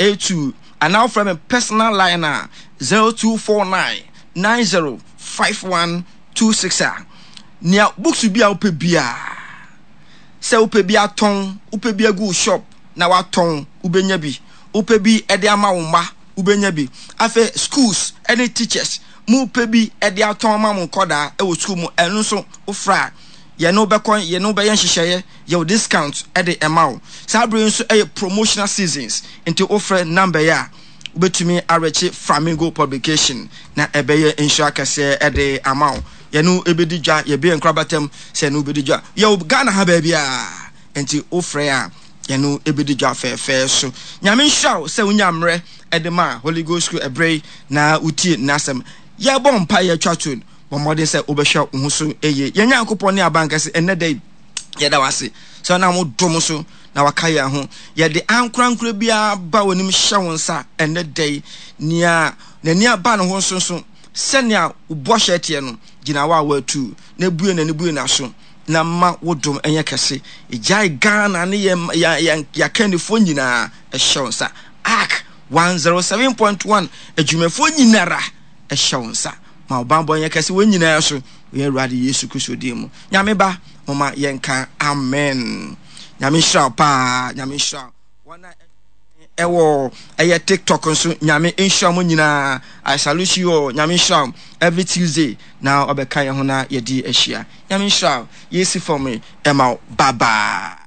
82 anaa wofrɛ me personal line a 0249 90 5126 a nea books bi a wopɛ biara sɛ wopɛ bi atɔn wopɛ bi agu wo shop na watɔn wobɛnya bi wopɛ bi de ama wo mma wobɛnya bi afei schools ne teachers mo pɛ bi de atɔn ama mo nkɔdaa wɔ school mu ɛno nso wofrɛ a yɛne wo bɛkɔ yɛne wo bɛyɛ nhyehyɛeɛ yɛwɔ discount de ɛma wo saa bere nso ɛyɛ promotional seasons nti wofrɛ number yi a wobɛtumi arɛkye Flamingo publication na ɛbɛyɛ nhyira kɛseɛ de ama wo yɛne wo ɛbɛdi dwa yɛbɛyɛ nkorabatam sɛ yɛne wo bɛdi dwa yɛwɔ Ghana ha baabiara nti wofrɛ a yɛne wo ɛbɛdi dwa fɛɛfɛɛ so Nyame nhyira wo sɛ wonya mmerɛ de ma Holy Ghost School ɛberɛ yi na wotie n'asɛm yɛbɔ mpa yɛtwa to bɔ mmɔden sɛ wobɛhwɛ wo ho so yie yɛn Nyankopɔn ne abankɛse ɛnnɛ da yi yɛda wo ase sɛ ɔnam wo dom so na waka yɛn ho yɛde ankorankora biara ba w'anim hyɛ wo nsa ɛnnɛ da yi nea n'ani aba ne ho nso nso sɛnea wo bɔhyɛ teɛ no gyina wo a woatu na bue n'ani bue n'aso na ma wo dom nyɛ kɛse gyae Ghana ne yɛn yɛn yɛakannifoɔ nyinaa hyɛ wo nsa Ark 107.1 adwumafoɔ nyinara hyɛ wo nsa Ma wo banbɔ nyɛ kɛse wɔn nyinaa so wɔ yɛn Awurade Yesu Kristo din mu. Nyame ba, momma yɛnka amen. Nyame nhyira wo paa. Nyame nhyira wo. Wɔn a ɛwɔ ɛyɛ TikTok nso, Nyame nhyira mo nyinaa. I salute you all. Nyame nhyira wo. Every Tuesday na ɔbɛka yɛn ho na yɛde ahyia. Nyame nhyira wo. Yɛsi fam yi ɛma wo. Bye bye.